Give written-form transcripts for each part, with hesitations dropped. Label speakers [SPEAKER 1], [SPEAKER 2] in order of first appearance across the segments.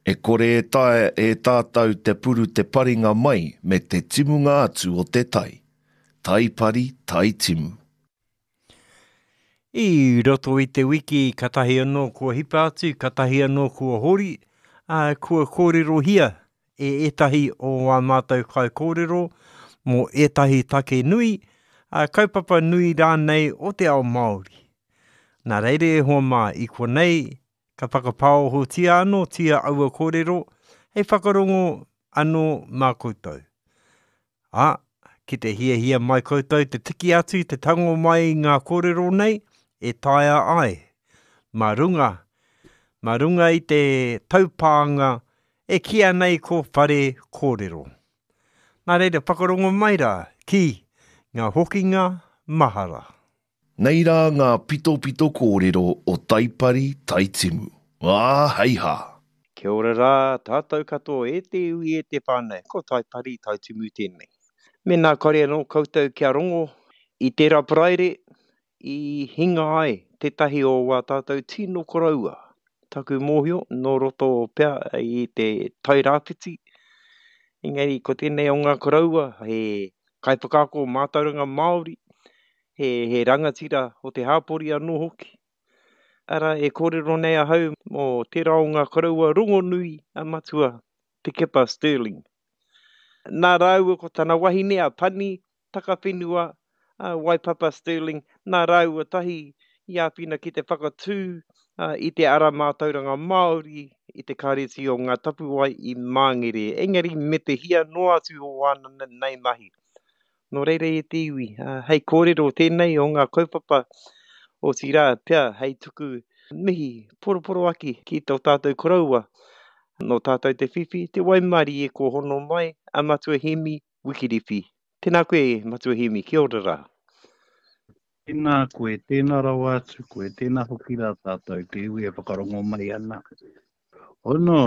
[SPEAKER 1] E kore e taea e tātou te puru te paringa mai me te timunga atu o te tai. Tai pari, tai timu.
[SPEAKER 2] I roto i te wiki katahi anō kua hipa atu, katahi anō kua hori, ā, kua kōrerohia e ētahi o ā mātou kaikōrero mō ētahi take nui, ā, kaupapa nui rānei o te ao Māori. Nā reira e hoa mā, i konei ka whakapāohotia anōtia aua kōrero hei whakarongo anō mā koutou. Ā, ki te hiahia mai koutou te tiki atu, te tango mai i ngā kōrero nei, e taea ai, mā runga, mā runga i te taupānga e kīia nei ko Whare Kōrero. Nā reira, whakarongo mai rā ki ngā hokinga mahara.
[SPEAKER 1] Nei rā ngā pitopito kōrero o Taipari Taitimu. Ā, hei hā!
[SPEAKER 2] Kia ora rā tātou katoa e te iwi e te whānau, ko Taipari Taitimu tēnei. Mēnā kore anō koutou kia rongo i tērā Paraire i hinga ai tētahi o wā tātou tino koroua, taku mōhio nō roto pea i te Tairāwhiti, engari ko tēnei o ngā koroua he kaiwhakaako mātauranga Māori, he, he rangatira o te hāpori anō hoki. Arā, e kōrero nei ahau mō tērā o ngā koroua rongonui a Matua Te Kepa Stirling. Nā rāua ko tana wahine a Pani Takawhenua a Waipapa Stirling, nā rāua tahi i āwhina ki te whakatū i te ara mātauranga Māori i te Kāreti o Ngā Tapuwae i Māngere, engari me te hia noa atu o āna nei mahi. Nō reira e te iwi, hei kōrero tēnei o ngā kaupapa, otirā pea hei tuku mihi poroporoaki ki tō tātou koroua, nō tātou te whiwhi, te waimarie kua hono mai a Matua Hēmi Wikiriwhi. Tēnā koe Matua Hēmi, kia ora rā.
[SPEAKER 3] Tēnā koe, tēnā rawa atu koe, tēnā hoki rā tātou te iwi e whakarongo mai ana. Ono,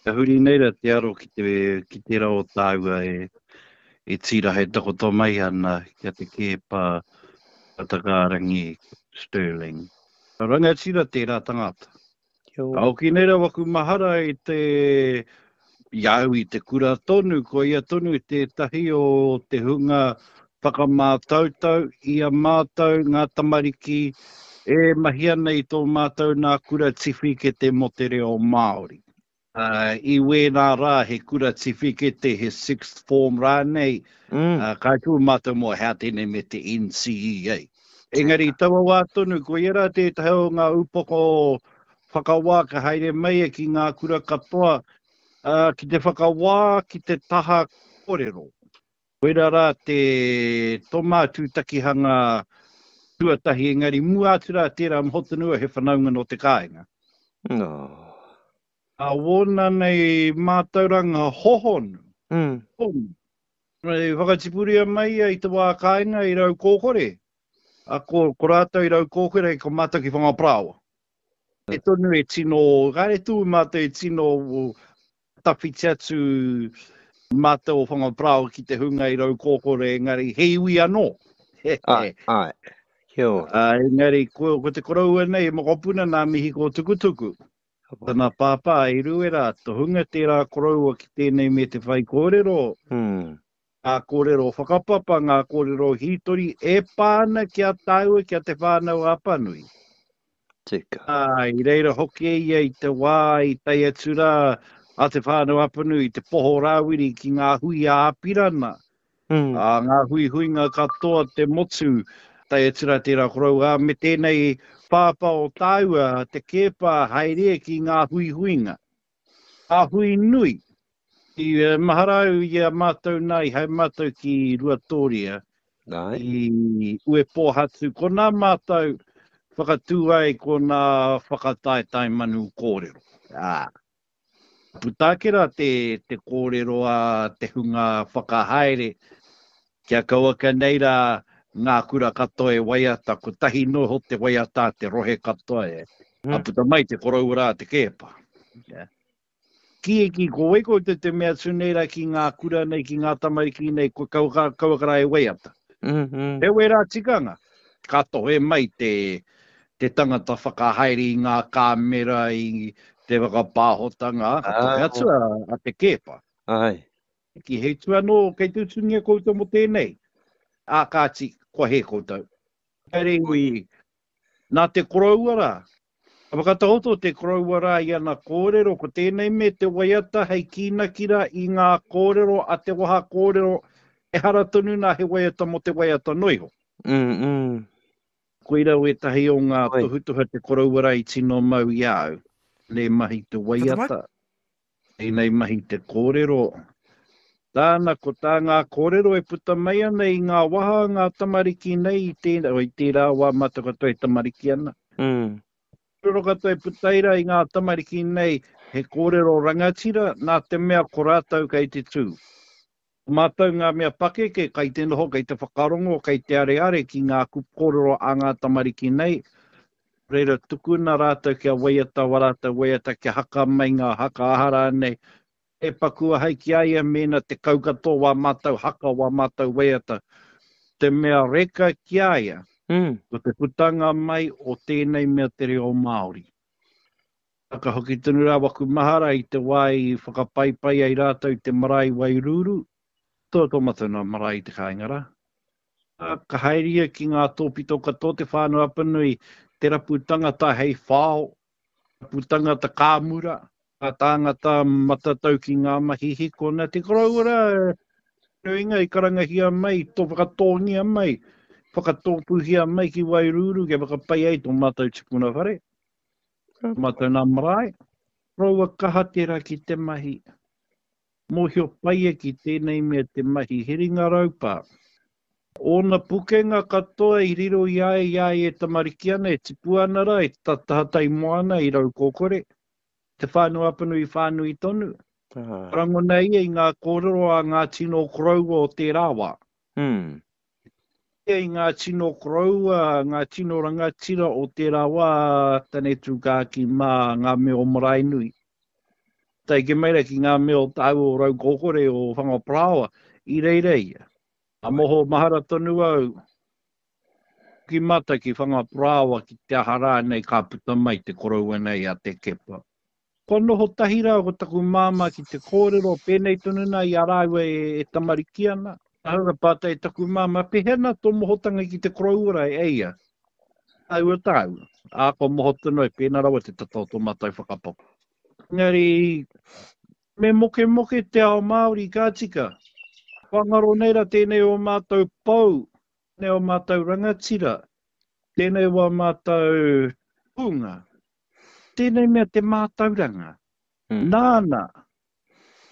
[SPEAKER 3] ka huri nei ra te aro ki te, ki tērā o tāua e, e tīraha e takoto mai ana ki a Te Keepa Takaarangi Stirling. Rangatira tērā tangata. Ka hoki nei ra waku mahara i te, i a au i te kura tonu, ko ia tonu tētahi o te hunga whakamātautau i a mātou ngā tamariki e mahi ana i tō mātou nā kura tiwhikete mō te reo Māori. I wēnā rā he kura tiwhikete, he sixth form rānei, mm. ka tū mātou mō hea tēnei me te NCEA. Engari i taua wā tonu, ko ia rā tētahi o ngā upoko whakawā ka haere mai e ki ngā kura katoa ki te whakawā ki te taha kōrero. Koirā rā te toma tūtakihanga tuatahi engari mua atu rā tērā moho tonu he whanaunga nō te kāinga.
[SPEAKER 2] No.
[SPEAKER 3] A wōna nei mātauranga hohonu.
[SPEAKER 2] Mm.
[SPEAKER 3] Hohonu. I whakatipuria mai ia i te wā kāinga i Raukōkore. A ko, ko rātou i Raukōkore, ko mātou ki Whangaparāoa. E tonu e tino, kāre tū mātou e tino tawhiti atu mātou o Whangaparāoa ki te hunga i Raukōkore, engari he iwi anō.
[SPEAKER 2] Āe, āe. Kia ora.
[SPEAKER 3] Ā, engari ko, ko te koroua nei, he mokopuna nā Mihi Kōtukutuku. Tana pāpā i Ruera, tohunga tērā koroua ki tēnei me te whaikōrero.
[SPEAKER 2] Mm.
[SPEAKER 3] Ngā kōrero whakapapa, ngā kōrero hītori e pā ana ki a tāua, ki a Te Whānau-a-Apanui.
[SPEAKER 2] Tika.
[SPEAKER 3] Ā, i reira hoki ia i te wā i tae atu rā a Te Whānau-a-Apanui i Te Poho Rāwiri ki ngā hui a Apirana,
[SPEAKER 2] mm.
[SPEAKER 3] ā, ngā huihuinga katoa te motu, tae atu rā tērā koroua, ā, me tēnei pāpā o tāua, Te Keepa, haere ki ngā huihuinga. Ngā hui nui. I mahara au i a mātou nā, i haere mātou ki Ruatōria, i Uepōhatu, konā mātou whakatū ai ko nā whakataetae manu kōrero. Ā, puta ake rā te, te kōrero a te hunga whakahaere, kia kauaka nei rā ngā kura katoa e waiata, kotahi noa iho te waiata a te rohe katoa e. Ka puta mai te koroua rā te kēpa. Yeah. Ki e ki, ko wai koutou te mea atu nei rā ki ngā kura nei, ki ngā tamariki nei, ko kauaka, kauaka rā e waiata.
[SPEAKER 2] Mm -hmm.
[SPEAKER 3] He wērā tikanga, ka tohe mai te, Te tangata whakahaere i ngā kāmera, i te whakapāhotanga, ka tohe atu a, a Te Keepa.
[SPEAKER 2] Ai.
[SPEAKER 3] Ki he utu anō kei te utungia koutou mō tēnei? Ā, kāti, kua hē koutou. Engari, nā te koroua rā, ka whakatakoto te koroua rā i ana kōrero, ko tēnei me te waiata hei kīnaki rā i ngā kōrero a te waha kōrero, ehara tonu nā he waiata mō te waiata noa iho.
[SPEAKER 2] Mm, mm.
[SPEAKER 3] Koira wētahi o ngā tohutohu a te koroua rā i tino mau i a au. Tēnei mahi te waiata, tēnei mahi te kōrero. Tāna, ko tā ngā kōrero e puta mai ana i ngā waha o ngā tamariki nei i tēnā, i tērā wā mātou katoa e tamariki ana.
[SPEAKER 2] Mm.
[SPEAKER 3] Kōrero katoa e puta ai rā i ngā tamariki nei he kōrero rangatira nā te mea ko rātou kei te tū. Ko mātou ngā mea pakeke kai te noho, kei te whakarongo, kei te areare ki ngā kupu kōrero a ngā tamariki nei, reira tukuna rātou kia waiata wā rātou waiata, kia haka mai ngā haka aha rānei, e paku ahau ki a ia mēnā 10 katoa wā mātou haka, wā mātou waiata. Te mea reka ki a ia, ko te putanga mai o tēnei mea te reo Māori. Ka hoki tonu rā waku mahara i te wā i whakapaipai ai rātou i te marae i Wairūrū, tō tō matou nā marae i te kāinga rā. Ka haere ia ki ngā tōpito katoa o Te Whānau Apanui, te rapu tangata hei whao, rapu tangata kāmura, ngā tāngata matatau ki ngā mahi hiko. Nā te koroua rā, nuinga i karangahia mai, tō whakatōngia mai, whakatōpūhia mai ki Wairūrū kia whakapai ai tō mātou tipuna whare. Mātou nā marae. Koroua kaha tērā ki te mahi. Mōhio pai ia ki tēnei mea te mahi he ringa raupā. Ōna pukenga katoa i riro i a ia i a ia e tamariki ana, e tipu ana rā, e tahatai moana i Raukōkore, Te Whānau-a-Apanui whānui tonu. Ka rangona ia i ngā kōrero a ngā tino koroua o tērā wā. Ia i ngā tino koroua, ngā tino rangatira o tērā wā, Tane Tūkākī mā, ngā mea o Maraenui. Tae ake mai rā ki ngā mea o tāua o Raukōkore, o Whangaparāoa, i reira ia. Ka moho mahara tonu au ki mātou ki Whangaparāoa ki te aha rānei ka puta mai te koroua nei a Te Kepa. Kua noho tahi rā ko taku māmā ki te kōrero, pēnei tonu nā i a rāua e tamariki ana. Ahau ka pātai e taku māmā, Pēhea nā tō mohotanga ki te koroua rā e ia? Tāua tāua. Ā, kua moho tonu ai, pēnā rawa te tata o tō mātou whakapapa. Engari, me mokemoke te ao Māori, ka tika. Kua ngaro nei rā tēnei o mātou pou, tēnei o mātou rangatira, tēnei o mātou tūnga. Tēnei mea te mātauranga. Mm. Nāna,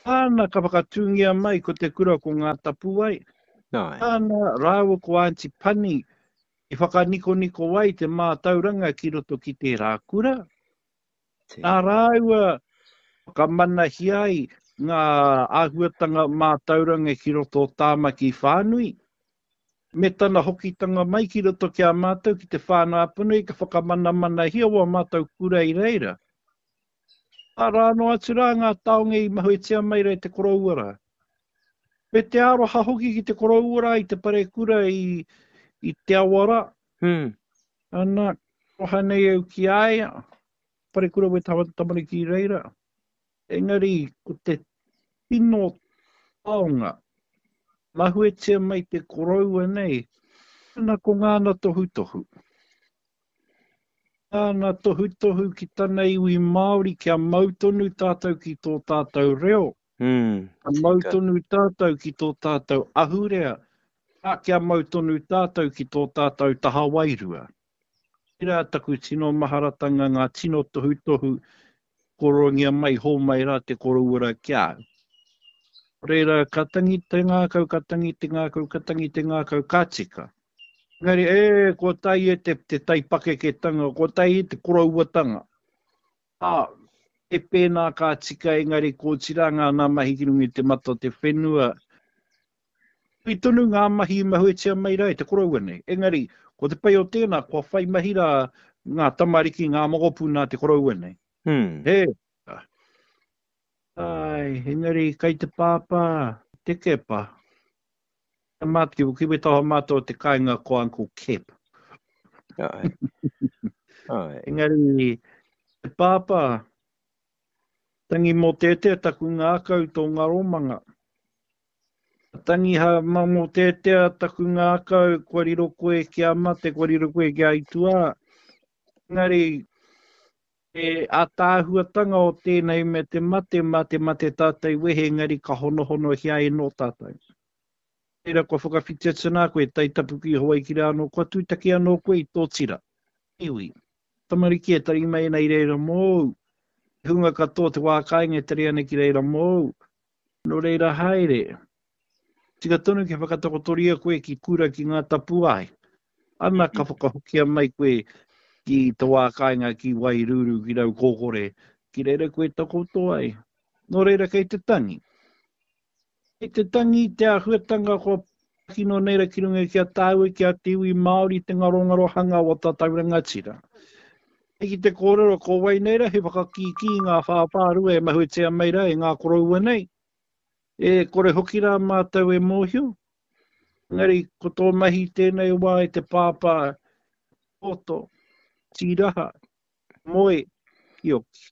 [SPEAKER 3] nāna ka whakatūngia mai ko te kura ko Ngā Tapuwae. Nāna rāua ko Aunty Pani i whakanikoniko ai te mātauranga ki roto ki tērā kura. Nā rāua whakamanahia ai ngā āhuatanga mātauranga ki roto o Tāmaki whānui. Me tana hokitanga mai ki roto ki a mātou ki te Whānau Apanui ka whakamanamanahia wā mātou kura i reira. Arā noa atu rā ngā taonga i mahuetia mai rā e te koroua rā. Me te aroha hoki ki te koroua rā i te parekura i, i te awa rā.
[SPEAKER 2] Hmm.
[SPEAKER 3] Ana, aroha nei au ki a ia, parekura we tamariki i reira. Engari, ko te tino taonga, mahuetia mai te koroua nei, ana ko ngāna tohutohu. Ngāna tohutohu ki tana iwi Māori kia mau tonu tātou ki tō tātou reo,
[SPEAKER 2] mm,
[SPEAKER 3] kia mau tonu tātou ki tō tātou ahurea, ā, kia mau tonu tātou ki tō tātou taha wairua. Tērā taku tino maharatanga ngā tino tohutohu koroangia mai hōmai rā te koroua rā ki a au. Reira, ka tangi te ngākau, ka tangi te ngākau, ka tangi te ngākau, ka tika. Engari, e, kua tae e te, te taipakeketanga, kua tae e te korouatanga. Ā, e pēnā ka tika, engari kua oti rā ngā nā mahi ki runga i te mata o te whenua, Nui tonu ngā mahi i mahuetia mai rā e te koroua nei. Engari, ko te pai o tēnā, kua whai mahi rā ngā tamariki, ngā mokopuna a te koroua nei.
[SPEAKER 2] Hmm.
[SPEAKER 3] He. Ai, engari, kai te pāpā, te kepa. Mātou, ki wetaha mātou o te kāinga ko Uncle Kep.
[SPEAKER 2] Ai. Ai.
[SPEAKER 3] Engari, te pāpā, tangi mōteatea taku ngākau tō ngaromanga. Tangi ha mōteatea taku ngākau kua riro koe ki a mate, kua riro koe ki a aituā. Engari, te ātaahuatanga o tēnei me te mate, mā te mate tātou wehe engari ka honohonohia ai nō tātou. Reira kua whakawhiti atu nā koe, tai tapu ki Hawaiki rā anō, kua tūtaki anō koe i tō tira, iwi, tamariki e tari mai ana i reira mōu, te hunga katoa o te wā kāinga e tari ana ki reira mōu, nō reira haere. Tika tonu kia whakatakotoria koe ki kura ki ngā tapuae. Ana ka whakahokia mai koe ki te wā kāinga ki Wairūrū, ki Raukōkore, ki reira koe takoto ai. Nō reira kei te tangi. Kei te tangi te āhuatanga kua kino nei ra ki runga ki a tāua, ki a te iwi Māori te ngarongarohanga o tātou rangatira. Hei ki te kōrero ko wai nei ra he whakakīkī i ngā whāwhārua e mahuetia mai ra e ngā koroua nei. E kore hoki rā mātou e mōhio. Engari ko tō mahi tēnei wā e te pāpā poto, tīraha, moe, kioki.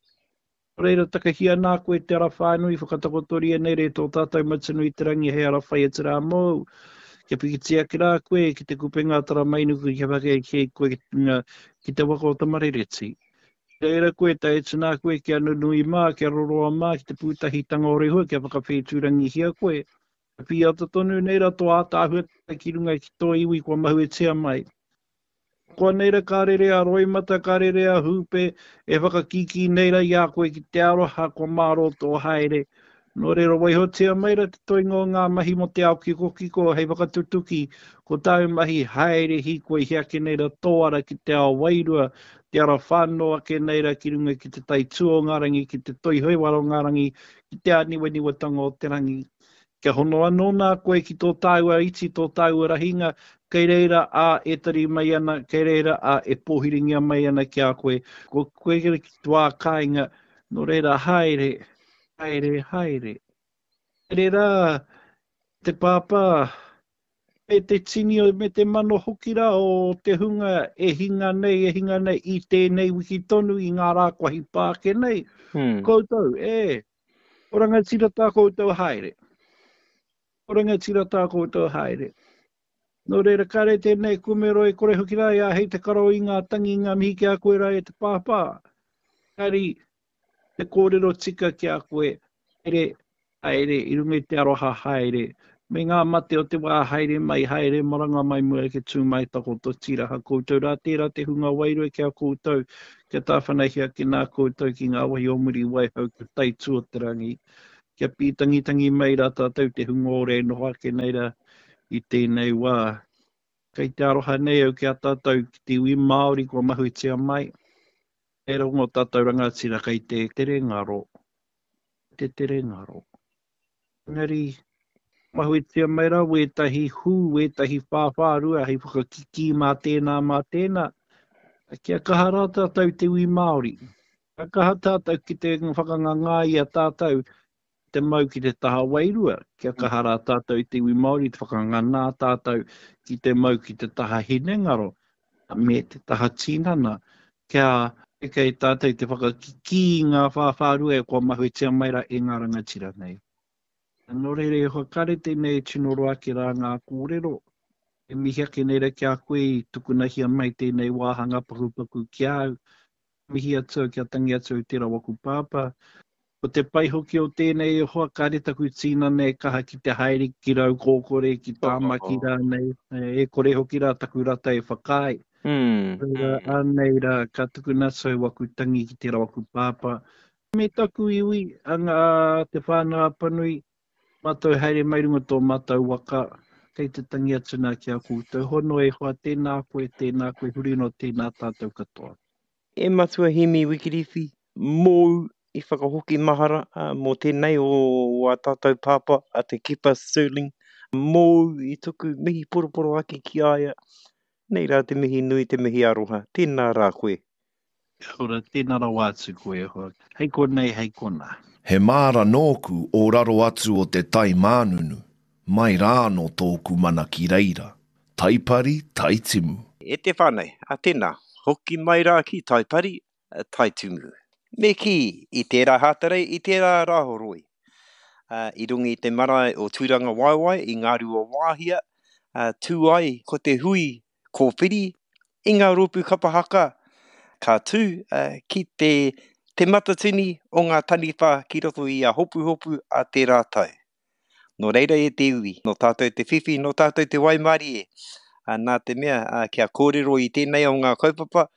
[SPEAKER 3] Nō reira, takahia nā koe te ara whānui, whakatakotoria nei re tō tātou Matua i te rangi hei ara whai atu rā mōu. Kia pikitia ake rā koe ki te kupenga a Taramainuku kia whakaheke koe ki te waka o Tamarereti. Reira koe, tae atu nā koe kia nunui mā, kia roroa mā ki te pūtahitanga o Rehua kia whakawhētūrangihia koe. Ka pīata tonu nei rā tō ātaahuatanga ki runga ki tō iwi kua mahuetia mai. Koa nei ra ka rere a roimata, ka rere a hūpe, e whakakīkī nei ra i a koe ki te aroha kua mārō tō haere. Nō reira waihotia mai ra te toenga o ngā mahi mō te ao kikokiko hei whakatutuki ko tāu mahi haere hīkoi he ake nei ra tō ara ki te ao wairua, te ara whano ake nei ra ki runga ki te tai tū o ngā rangi, ki te toi heuara o ngā rangi, ki te āniwaniwatanga o te rangi. Kia hono anō nā koe ki tō tāua iti, tō tāua rahinga, kei reira a e tari mai ana, kei reira a e pōhiringia mai ana ki a koe. Ko koe ki te wā kāinga, nō reira haere, Haere, haere. Haere rā te pāpā, me te tini me te mano hoki rā o te hunga e hinga nei, e hinga nei i tēnei wiki tonu i ngā rā kua hipa ake nei. Hmm. Koutou, e, o rangatira tā koutou haere. O rangatira tā koutou haere. Nō reira, kāre tēnei kumero e kore hoki rā e āhei te karo i ngā tangi, i ngā mihi ki a koe rā e te pāpā. Kāri, te kōrero tika ki a koe, haere, haere, i runga i te aroha haere, me ngā mate o te wā haere mai, haere maranga mai mua ke tū mai takoto tīraha koutou rā, tērā te hunga wairua ki a koutou, kia tāwhanahia ake nā koutou ki ngā wahi o muri waihau kia taitū o te rangi, kia pītangitangi mai rā tātou te hunga ora e noho ake nei rā i tēnei wā. Kei te aroha nei au ki a tātou ki te iwi Māori kua mahuetia mai. E rongo tātou rangatira kei te tere ngaro, te tere ngaro. Engari, mahuetia mai rā wētahi hū, wētahi whāwhārua hei whakakikī mā tēnā, mā tēnā. Kia kaha rā tātou te iwi Māori. Kia kaha tātou ki te whakangangā i a tātou te mau ki te taha wairua, kia kaha rā tātou i te iwi Māori te whakanganā tātou ki te mau ki te taha hinengaro me te taha tinana, kia eke ai tātou te whakakikī i ngā whāwhārua e kua mahuetia mai rā e ngā rangatira nei. Nō reira, e hoa kare tēnei e tino roa ake rā ngā kōrero, e mihi ake nei rā ki a koe i tukunahia mai tēnei wāhanga pakupaku ki a au, Mihi atu au kia tangi atu au tera waku pāpā. Ko te pai hoki o tēnei e hoa kāre taku tīnana e kaha ki te haere ki Raukōkore, ki Tāmaki rānei, e kore hoki rā taku rata e whakaae. Reira, anei rā, ka tukuna atu au waku tangi ki tera waku pāpā. Me taku iwi, a ngā, Te Whānau Apanui, mātou haere mai runga tō mātou waka, kei te tangi atu nā ki a koutou. Hono e hoa, tēnā koe, tēnā koe, huri noa tēnā tātou katoa.
[SPEAKER 2] E Matua Hemi Wikiriwhi, mōu i whakahoki mahara mō tēnei o ā tātou pāpā a Te Keepa Stirling, mōu i tuku mihi poroporoaki ki a ia, nei rā te mihi nui, te mihi aroha, tēnā rā koe.
[SPEAKER 3] Kia ora, tēnā rawa atu koe e hoa. Hei konei, hei konā.
[SPEAKER 1] He māra nōku o raro atu o te tai mānunu, mai rā anō tōku mana ki reira. Taipari, Taitimu.
[SPEAKER 2] E te whānau, a tēnā. hoki mai rā ki Taipari, Taitumu. Me kī, i tērā Hātarei, i tērā Rāhoroi, i runga i te marae o Tūrangawaewae i Ngāruawāhia, tū ai ko te hui kōwhiri i ngā rōpū kapa haka ka tū ki te Te Matatini o ngā Taniwha ki roto i a Hopuhopu a tērā tau. Nō reira e te iwi, nō tātou te whiwhi, nō tātou te waimarie, nā te mea kia kōrero i tēnei o ngā kaupapa,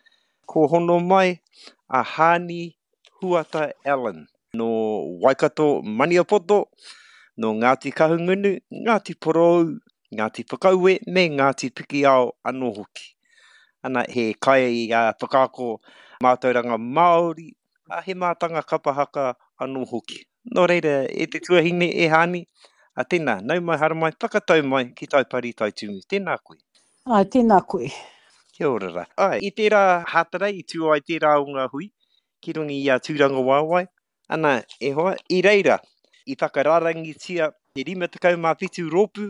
[SPEAKER 2] ko hono mai a Haani Huata Allen, nō Waikato Maniapoto, nō Ngāti Kahungunu, Ngāti Porou, Ngāti Whakaue me Ngāti Pikiao anō hoki. Ana, he kai whakaako mātauranga Māori, ā, he mātanga kapa haka anō hoki. Nō reira, e te tuahine, e Haani, ā, tēnā, nau mai, haramai, whakatau mai ki Taipari Taitumu. Tēnā koe.
[SPEAKER 4] Āe, tēnā koe.
[SPEAKER 2] Kia ora rā. Āe, i tērā Hātarei i tū ai tērā o ngā hui ki runga i a Tūrangawaewae, ana, e hoa, i reira, i whakarārangitia te 57 rōpū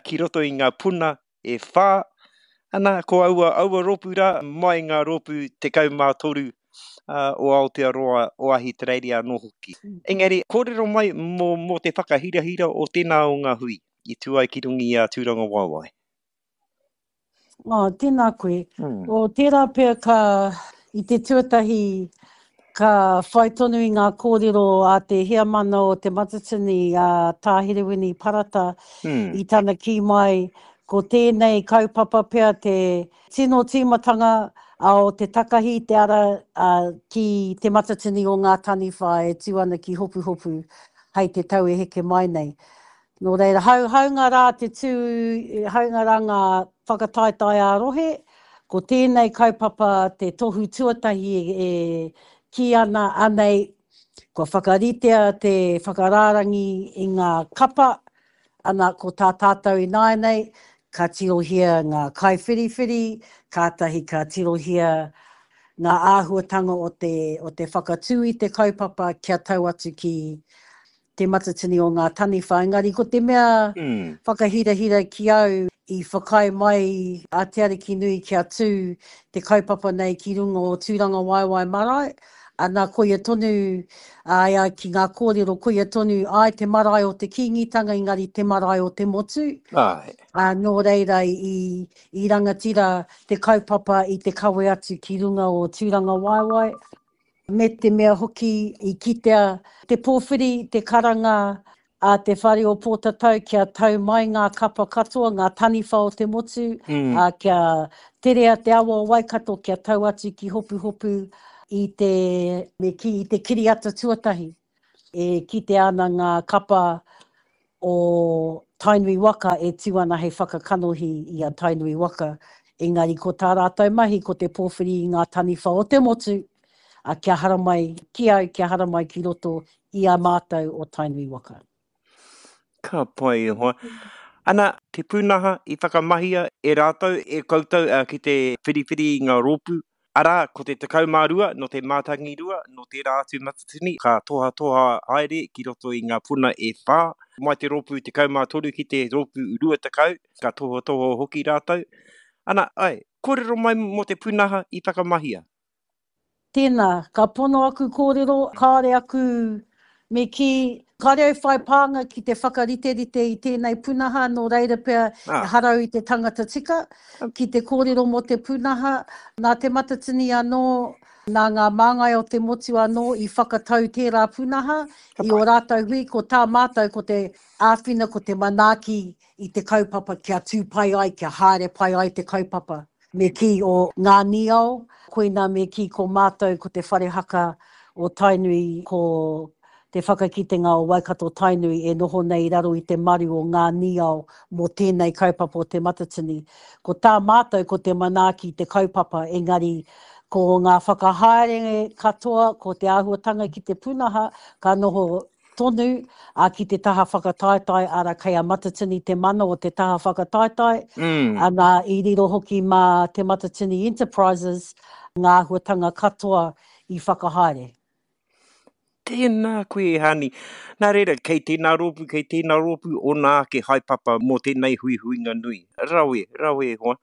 [SPEAKER 2] ki roto i ngā puna e whā, ana, ko aua, aua rōpū rā, mai ngā rōpū 13 o Aotearoa, o Ahitereiria anō hoki. Engari, kōrero mai mō, mō te whakahirahira o tēnā o ngā hui i tū ai ki runga i a Tūrangawaewae.
[SPEAKER 4] Oh, tēnā koe. Mm. O, tērā pea ka, i te tuatahi, ka whai tonu i ngā kōrero a te heamana o Te Matatini, a Tā Herewini Parata, mm. i tana kī mai, ko tēnei kaupapa pea te tino tīmatanga a o te takahi te ara a, ki Te Matatini o Ngā Taniwha e tū ana ki Hopuhopu hei te tau e heke mai nei. Nō reira, hau, haunga rā te tū, haunga rā ngā whakataetae ā-rohe, ko tēnei kaupapa te tohu tuatahi e kī ana, anei, kua whakaritea te whakarārangi i ngā kapa, ana, ko tā tātou ināianei, ka tirohia ngā kaiwhiriwhiri, kātahi ka tirohia ngā āhuatanga o te, o te whakatū i te kaupapa kia tau atu ki Te Matatini o Ngā Taniwha, engari ko te mea whakahirahira ki au, i whakaae mai a Te Arikinui kia tū te kaupapa nei ki runga o Tūrangawaewae Marae, ana koia tonu, āe ai ki ngā kōrero, koia tonu, āe te marae o te Kīngitanga engari te marae o te motu,
[SPEAKER 2] Āe.
[SPEAKER 4] ā, nō reira i, i rangatira te kaupapa i te kawe atu ki runga o Tūrangawaewae. Me te mea hoki i kitea te pōwhiri, te karanga a te whare o Pōtatau kia tau mai ngā kapa katoa, ngā taniwha o te motu, ā, kia terea te awa o Waikato kia tau atu ki Hopuhopu i te, me kī, i te kiriata tuatahi. E kitea ana ngā kapa o Tainui waka e tū ana hei whakakanohi i a Tainui waka, engari ko tā rātou mahi ko te pōwhiri i ngā taniwha o te motu, ā, kia haramai ki au, kia haramai ki roto i a mātou o Tainui waka.
[SPEAKER 2] Ka pai e hoa. Ana, te pūnaha i whakamahia e rātou, e koutou ki te whiriwhiri i ngā rōpū, arā, ko te 12 nō te Mātangirua, nō tērā atu matatini, ka tohatoha haere ki roto i ngā puna e whā, mai te rōpū 13 ki te rōpū 20, ka tohatoha hoki rātou. Ana, āe, kōrero mai mō te pūnaha i whakamahia.
[SPEAKER 4] Tēnā, ka pono aku kōrero, kāore aku, me kī, kāore au whai pānga ki te whakariterite i tēnei punaha, nō reira pea ehara au i te tangata tika ki te kōrero mō te pūnaha. Nā Te Matatini anō, nā ngā māngai o te motu anō i whakatau tērā pūnaha i ō rātou hui, ko tā mātou ko te āwhina, ko te manaaki i te kaupapa kia tū pai ai, kia haere pai ai te kaupapa. Me kī o Ngā Niao, koinā me kī ko mātou ko te whare haka o Tainui, ko te whakakitenga o Waikato Tainui e noho nei i raro i te maru o Ngā Niao mō tēnei kaupapa o Te Matatini. Ko tā mātou ko te manaaki i te kaupapa engari ko ngā whakahaere katoa, ko te āhuatanga ki te punaha ka noho tonu, ā, ki te taha whakataetae, arā, kei a Matatini te mana o te taha whakataetae, ana, i riro hoki mā Te Matatini Enterprises ngā āhuatanga katoa i whakahaere.
[SPEAKER 2] Tēnā koe e Hani. Nā reira, kei tēnā rōpū, kei tēnā rōpū ōna ake haepapa mō tēnei huihuinga nui. Rawe, rawe e hoa.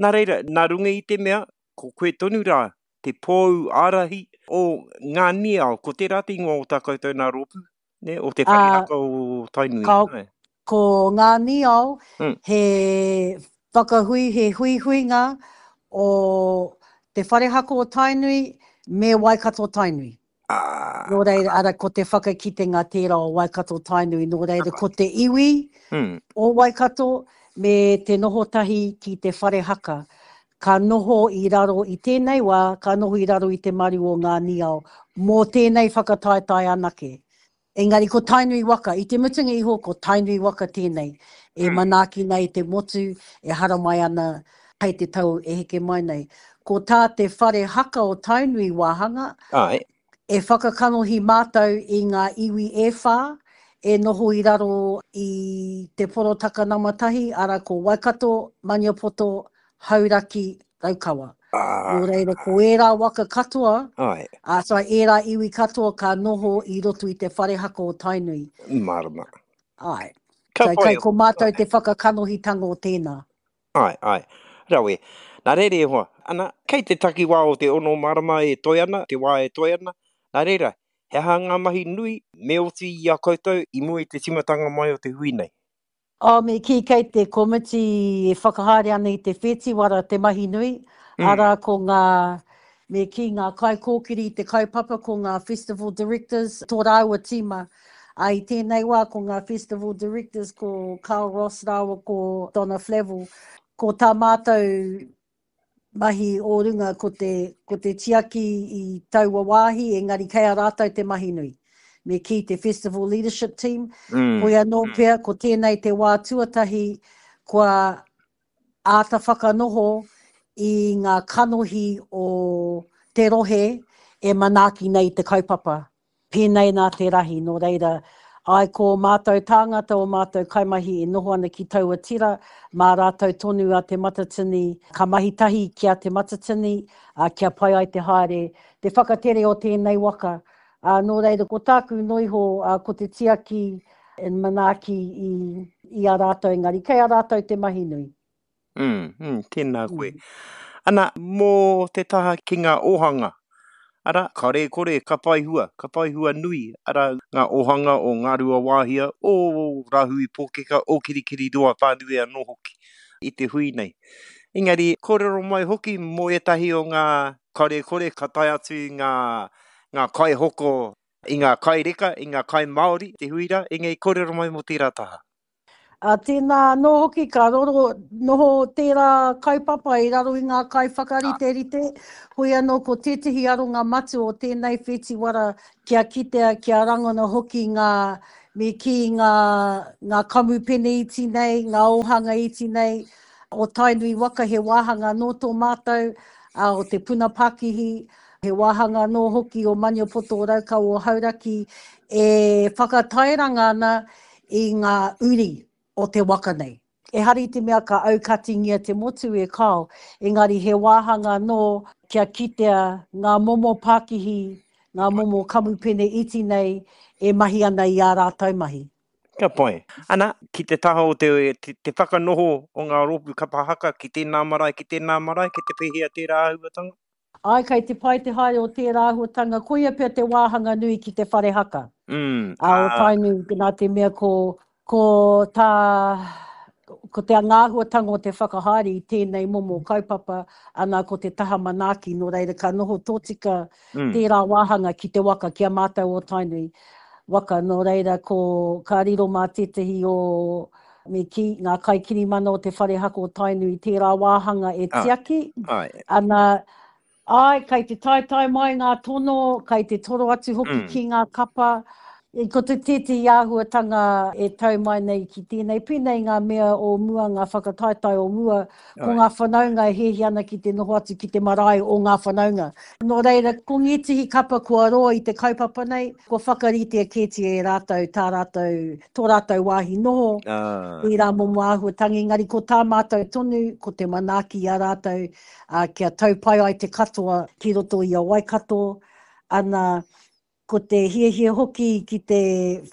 [SPEAKER 2] Nā reira, nā runga i te mea, Ko koe tonu rā te pou ārahi o Ngā Niao, ko tērā te ingoa o tā koutou nā rōpū, nē, o te whare haka o Tainui.
[SPEAKER 4] Ka, ko Ngā Niao, mm. he whakahui, he huihuinga o te whare haka o Tainui me Waikato Tainui.
[SPEAKER 2] Ah.
[SPEAKER 4] Nō reira, ara, ko te whakakitenga tērā o Waikato Tainui, nō reira, ko te iwi
[SPEAKER 2] mm.
[SPEAKER 4] o Waikato me te noho tahi ki te whare haka. Ka noho i raro i tēnei wā, ka noho i raro i te maru o ngā niao, mō tēnei whakataetae anake. Engari ko Tainui waka, i te mutunga iho ko Tainui waka tēnei, e manaaki nei te motu, e haramai ana hei te tau e heke mai nei. Ko tā te whare haka o Tainui wāhanga,
[SPEAKER 2] Āe.
[SPEAKER 4] E whakakanohi mātou i ngā iwi e whā e noho i raro i te porotaka nama tahi, arā ko Waikato, Maniapoto, Hauraki, Raukawa. Nō reira, ko ērā waka katoa, ā, sorry, ērā iwi katoa ka noho i roto i te whare haka o Tainui.
[SPEAKER 2] Mārama.
[SPEAKER 4] Āe. Ka pai. Kai ko mātou te whakakanohitanga o tēnā.
[SPEAKER 2] Āe, āe. Rawe. Nā reira e hoa, ana, kei te takiwā o te ono marama e toe ana, te wā e toe ana, nā reira, he aha ngā mahi nui me oti i a koutou i mua i te tīmatanga mai o te hui nei?
[SPEAKER 4] Oh, me kī kei te komiti e whakahaere ana i te whetiwara te mahi nui, arā ko ngā, me kī ngā kaikōkiri i te kaupapa, ko ngā festival directors, tō rāua tīma. Ā, i tēnei wā ko ngā festival directors ko Carl Ross rāua ko Donna Flavell. Ko tā mātou mahi o runga ko te, ko te tiaki i taua wāhi, engari kei a rātou te mahi nui. Me kī te Festival Leadership Team, mm. hoi anō mm. pea ko tēnei te wā tuatahi kua āta whakanoho i ngā kanohi o te rohe e manaaki nei te kaupapa. Pēnei nā te rahi, nō reira, āe ko ō mātou tāngata, ō mātou kaimahi e noho ana ki taua tira, mā rātou tonu a Te Matatini, ka mahi tahi ki a Te Matatini, ā, kia pai ai te haere, te whakatere o tēnei waka. Ā, nō reira, ko tāku noiho, ā, ko te tiaki, manaaki i, i a rātou, engari kei a rātou te mahi nui.
[SPEAKER 2] Mm, mm, tēnā koe. Mm. Ana, mō te taha ki ngā ōhanga, ara, kare kore ka whai hua, ka whai hua nui, ara, ngā ōhanga o Ngāruawāhia, o Rāhui Pōkeka, o Kirikiriroa whānui anō hoki i te hui nei. Engari, kōrero mai hoki mō ētahi o ngā kare kore ka tae atu i ngā, ngā kaihoko, i ngā kai reka, i ngā kai Māori, te hui rā, engari kōrero mai mō tērā taha.
[SPEAKER 4] Ā, tēnā anō hoki ka roro, noho tērā kaupapa i raro i ngā kaiwhakariterite, hoi anō ko tētehi aronga matua o tēnei whetiwara kia kitea, kia rangona hoki ngā, me kī, ngā, ngā kamupene iti nei, ngā ōhanga iti nei o Tainui waka he wāhanga anō tō mātou, ā, o te puna pakihi, he wāhanga anō hoki o Maniapoto, o Raukawa, o Hauraki e whakatairanga ana i ngā uri o te waka nei. Ehara i te mea ka aukatingia te motu e kāo, engari he wāhanga anō kia kitea ngā momo pakihi, ngā momo kamupene iti nei e mahi ana i ā rātou mahi.
[SPEAKER 2] Ka pai. Ana, ki te taha o te, te, te whakanoho o ngā rōpū kapa haka ki tēnā marae, ki tēnā marae, kei te pēhea tērā āhuatanga?
[SPEAKER 4] Āe, kei te pai te haere o tērā āhuatanga, koia pea te wāhanga nui ki te whare haka.
[SPEAKER 2] Mm,
[SPEAKER 4] ā. O Tainui, nā te mea ko, ko tā, ko te āhuatanga o te whakahaere i tēnei momo kaupapa, ana ko te taha manaaki, nō reira ka noho tōtika mm. tērā wāhanga ki te waka, ki a mātou o Tainui waka, nō reira ko, ka riro mā tētahi o, me kī, ngā kaikirimana o te whare haka o Tainui tērā wāhanga e tiaki, ana, āe, kei te taetae mai ngā tono, kei te toro atu hoki mm. ki ngā kapa, Ko te tētehi āhuatanga e tau mai nei ki tēnei, pēnei ngā mea o mua, ngā whakataetae o mua, ko ngā whanaunga e hiahia ana ki te noho atu ki te marae o ngā whanaunga. Nō reira, ko ngētehi kapa kua roa i te kaupapa nei, kua whakaritea kētia e rātou tā rātou, tō rātou wāhi noho, ērā momo āhuatanga, engari ko tā mātou tonu, ko te manaaki i a rātou, ā, kia tau pai ai te katoa ki roto i a Waikato, ana, Ko te hiahia hoki ki te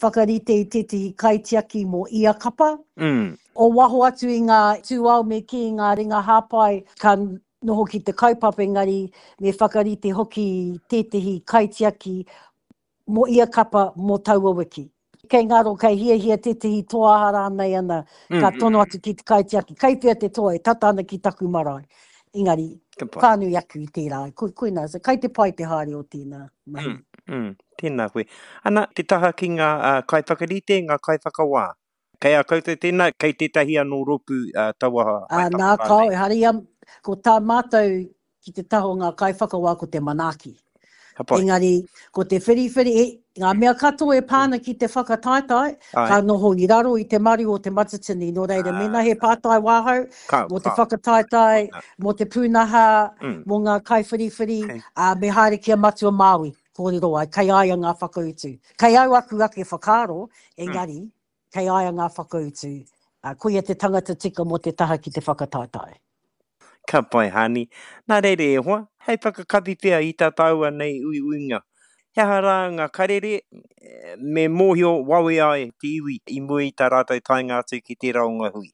[SPEAKER 4] whakarite i tētehi kaitiaki mō ia kapa.
[SPEAKER 2] Mm.
[SPEAKER 4] O waho atu i ngā tūao me kī, ngā ringa hāpai, ka noho ki te kaupapa engari me whakarite hoki tētehi kaitiaki mō ia kapa mō taua wiki. Kei ngaro, kei hiahia tētehi toa aha rānei ana, ka tono atu ki te kaitiaki, kei whea te toa e tata ana ki taku marae. Engari, whānui atu i tērā, koinā, so kei te pai te haere o tēnā mahi.
[SPEAKER 2] Mm, mm, tēnā koe. Ana, te taha ki ngā uh, kaiwhakarite, ngā kaiwhakawā. Kei a koutou tēnā, kei tētahi anō rōpū uh, taua
[SPEAKER 4] haepapa rānei? Nā, kāo, ehara ia, ko tā mātou ki te taha o ngā kaiwhakawā ko te manaaki.
[SPEAKER 2] Ka pai.
[SPEAKER 4] Engari, ko te whiriwhiri, e, ngā mea katoa e pā ana ki te whakataetae,
[SPEAKER 2] Āe.
[SPEAKER 4] ka noho i raro i te maru o Te Matatini. Nō reira, mēnā he pātai wāhau
[SPEAKER 2] Ka,
[SPEAKER 4] mō te
[SPEAKER 2] ka.
[SPEAKER 4] whakataetae,
[SPEAKER 2] Nā.
[SPEAKER 4] mō te pūnaha,
[SPEAKER 2] Mm.
[SPEAKER 4] mō ngā kaiwhiriwhiri,
[SPEAKER 2] Okay.
[SPEAKER 4] ā, me haere ki a Matua Māui, kōrero ai, kei a ia ngā whakautu. Kei au aku ake whakaaro, engari, kei a ia ngā whakautu. Ā, koia te tangata tika mō te taha ki te whakataetae.
[SPEAKER 2] Ka pai, Hani. Nā reira e hoa, hei whakakapi pea i tā tāua nei uiuinga. He aha rā ngā karere me mōhio wawe ai te iwi i mua i tā rātou taenga atu ki tērā o ngā hui?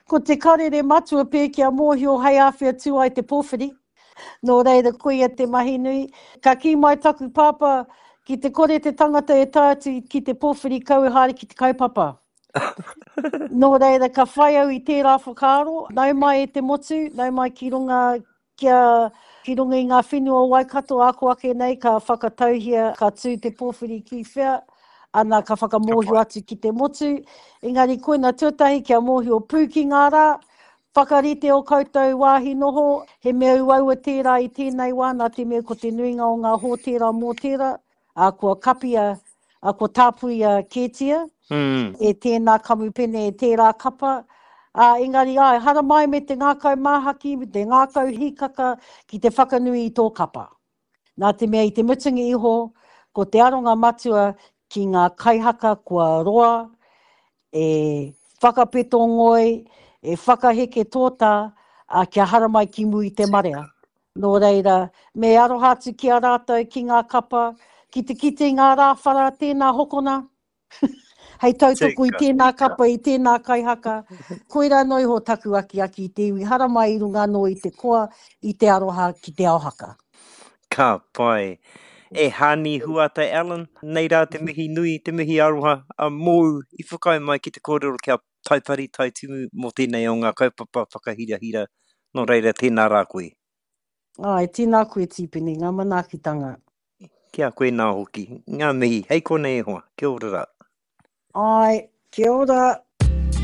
[SPEAKER 4] Ko te karere matua pē kia mōhio hei āwhea tū ai te pōwhiri. Nō reira koia te mahi nui. Ka kī mai taku pāpā, ki te kore te tangata e tae atu ki te pōwhiri kau e haere ki te kaupapa. Nō reira, ka whai au i tērā whakaaro, nau mai e te motu, nau mai ki runga, kia, ki runga i ngā whenua o Waikato, ako ake nei ka whakatauhia, ka tū te pōwhiri ki whea, ana ka whakamōhio atu ki te motu. Engari koina tuatahi kia mōhio pū ki ngā rā, whakarite o koutou wāhi noho, he mea uaua tērā i tēnei wā nā te mea ko te nuinga o ngā hōtēra mōtēra, ā, kua kapia, ā, kua tāpuia kētia e tēnā kamupene, e tērā kapa, ā, engari āe, haramai me te ngākau māhaki, me te ngākau hīkaka ki te whakanui i tō kapa. Nā te mea i te mutunga iho, ko te aronga matua ki ngā kaihaka kua roa e whakapeto ngoi, e whakaheke tōtā, ā, kia haramai ki mua i te marea. Nō reira, me aroha atu ki a rātou, ki ngā kapa, ki te kite i ngā rāwhara, tēnā hokona, hei tautoko i tēnā kapa, i tēnā kaihaka. Koirā noa iho taku akiaki i te iwi haramai i runga anō i te koa, i te aroha ki te ao haka.
[SPEAKER 2] Ka pai. E Hani Huata Allen, nei rā te mihi nui, te mihi aroha a mōu i whakaae mai ki te kōrero kia Taipari Taitimu mō tēnei o ngā kaupapa whakahirahira, nō reira tēnā rā koe.
[SPEAKER 4] Āe, tēnā koe Tīpene, ngā manaakitanga.
[SPEAKER 2] Ki a koe nā hoki, ngā mihi, hei konei e hoa, kia ora rā.
[SPEAKER 4] Āe, kia ora.